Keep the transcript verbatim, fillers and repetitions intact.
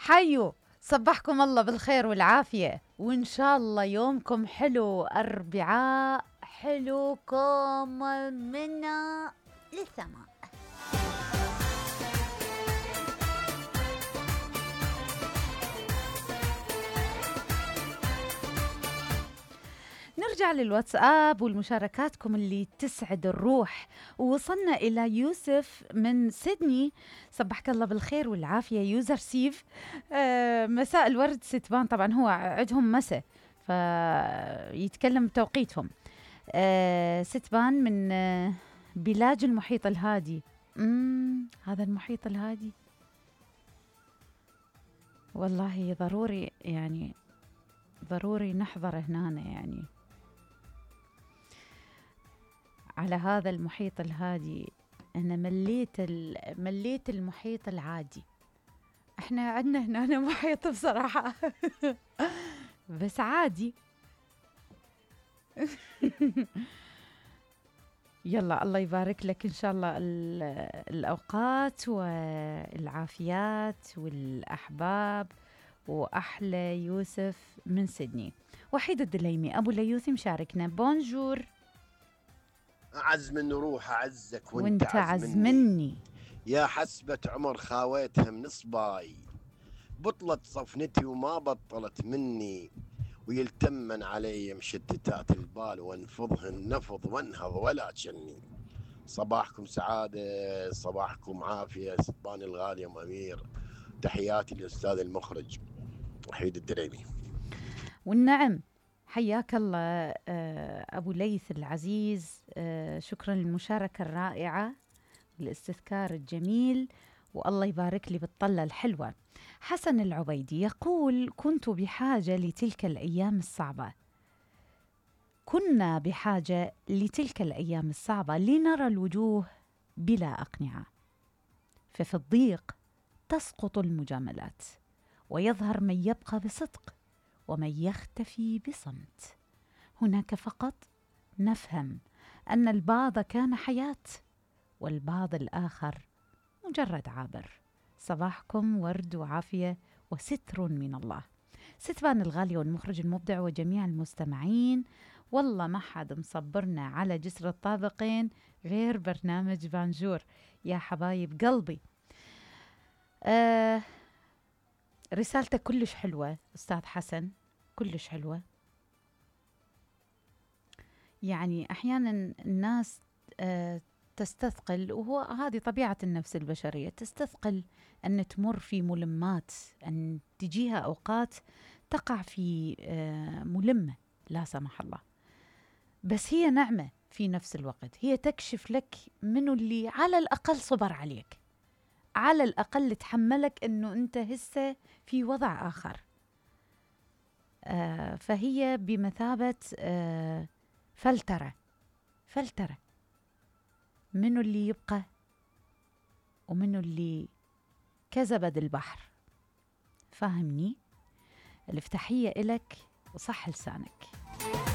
حيو صبحكم الله بالخير والعافية، وإن شاء الله يومكم حلو، أربعاء حلوكم منا للسماء. نرجع للواتساب والمشاركاتكم اللي تسعد الروح. ووصلنا إلى يوسف من سيدني، صبحك الله بالخير والعافية يوزر سيف. آه مساء الورد ستبان، طبعا هو عندهم مساء فيتكلم بتوقيتهم. آه ستبان من آه بلاج المحيط الهادي. مم هذا المحيط الهادي والله ضروري، يعني ضروري نحضر هنا يعني على هذا المحيط الهادي. أنا مليت مليت المحيط العادي. احنا عندنا هنا محيط بصراحة بس عادي. يلا الله يبارك لك إن شاء الله الأوقات والعافيات والأحباب. وأحلى يوسف من سيدني. وحيد الدليمي أبو ليوثي مشاركنا. بونجور. أعز من روح أعزك وانت, وانت عز مني. يا حسبة عمر خاويتها من صباي، بطلت صفنتي وما بطلت مني، ويلتمن علي مشتتات البال وانفضهن نفض وانهض ولا تشني. صباحكم سعادة، صباحكم عافية ستبان الغالي أم أمير. تحياتي للأستاذ المخرج وحيد الدريمي. والنعم حياك الله أبو ليث العزيز. شكرا للمشاركة الرائعة والاستذكار الجميل، والله يبارك لي بالطلة الحلوة. حسن العبيدي يقول: كنت بحاجة لتلك الأيام الصعبة كنا بحاجة لتلك الأيام الصعبة لنرى الوجوه بلا أقنعة، ففي الضيق تسقط المجاملات ويظهر من يبقى بصدق ومن يختفي بصمت. هناك فقط نفهم أن البعض كان حياة والبعض الآخر مجرد عابر. صباحكم ورد وعافية وستر من الله. ستبان الغالي والمخرج المبدع وجميع المستمعين، والله ما حد مصبرنا على جسر الطابقين غير برنامج بانجور يا حبايب قلبي. آه رسالتك كلش حلوة أستاذ حسن، كلش حلوة. يعني أحيانا الناس آه تستثقل، وهو هذه طبيعة النفس البشرية، تستثقل أن تمر في ملمات، أن تجيها أوقات تقع في آه ملمة لا سمح الله، بس هي نعمة في نفس الوقت. هي تكشف لك منو اللي على الأقل صبر عليك، على الأقل تحملك أنه أنت هسه في وضع آخر. آه فهي بمثابة آه فلترة فلترة منو اللي يبقى ومنو اللي كزبد البحر. فاهمني؟ الافتحية إلك وصح لسانك.